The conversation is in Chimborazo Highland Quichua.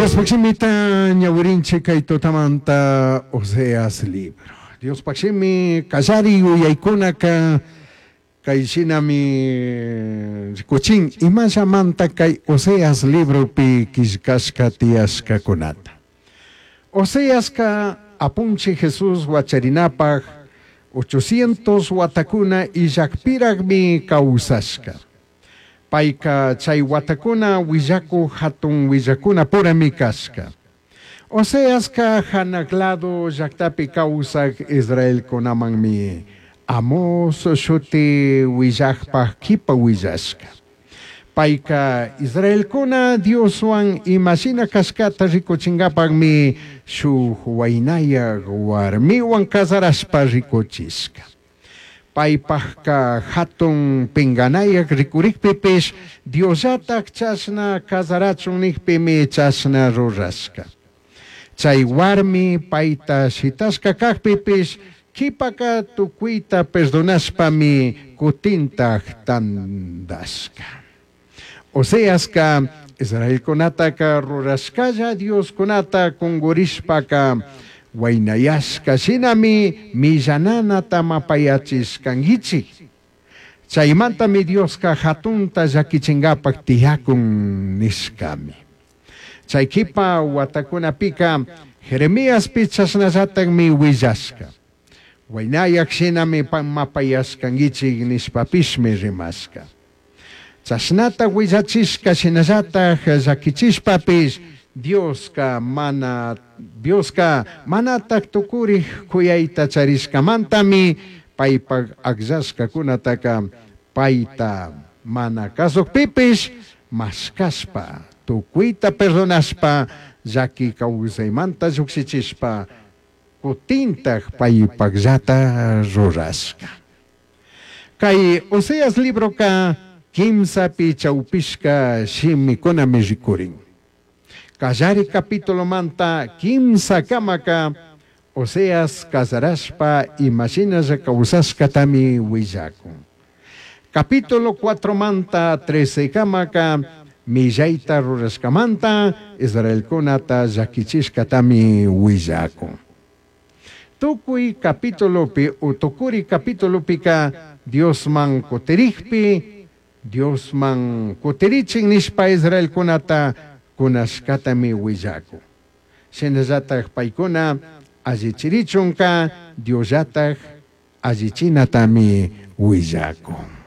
Diospaj shimita ñawirinchik kay tutamanta Oseas libro. Diospaj shimi kallari yuyaykunaka kay shinami rikuchin imallamanta kay Oseas libropi killkashka tiyashkakunata. Oseaska apunchik Jesús wacharinapaj 800 watakuna illakpiraqmi kawsashka. Payka chay watakuna willakuq hatun willakuna purami kashka. Oseaska hanaq lado llaqtapi kawsaq Israelkunamanmi Amos shuti willaqpaq kipa willashka. Payka Israelkuna Dioswan imashina kashkata rikuchinkapaqmi shuk waynayaq warmiwan casarashpa rikuchishka. Paypaqka hatun pinqanayaq rikurikpipish Diosllatak chashna casarachun nikpimi chashna rurashka. Chay warmi payta shitashka kakpipish kipaka tukuyta perdonashpami kutintak tandashka. Oseaska Israelkunataka rurashkalla Dioskunata kungurishpaka waynayashka shinami millananata mapayachishkankichik. Chaymantami Dioska hatunta llakichinkapak tiyakun nishkami. Chay kipa watakunapika Jeremiaspi chashnallatakmi willashka. Waynayak shinami mapayashkankichik nishpapishmi rimashka. Chashnata willachishka shinallatak llakichishpapish Dioska mana Dioska manatak tukurik kuyayta charishkamantami paypak akllashkakunataka payta mana kasukpipish mashkashpa tukuyta perdonashpa llaki kawsaymanta llukshichishpa kutintak paypakllata rurashka. Kay Oseas libroka kimsapi chawpishka shimikunami rikurin. Kallari capitulomanta kimsa kamaka Oseas casarashpa imashinalla kawsashkatami willakun. Capítulo 4 manta 13 kamaka millayta rurashkamanta Israelkunata llakichishkatami willakun. Tukuy capítulopi o tukuri capítulopika Diosman kutirikpi Diosman kutirichin nishpa Israelkunata kunashkatami willakun. Shinallatak paykuna allichirichunka Diosllatak allichinatami willakun.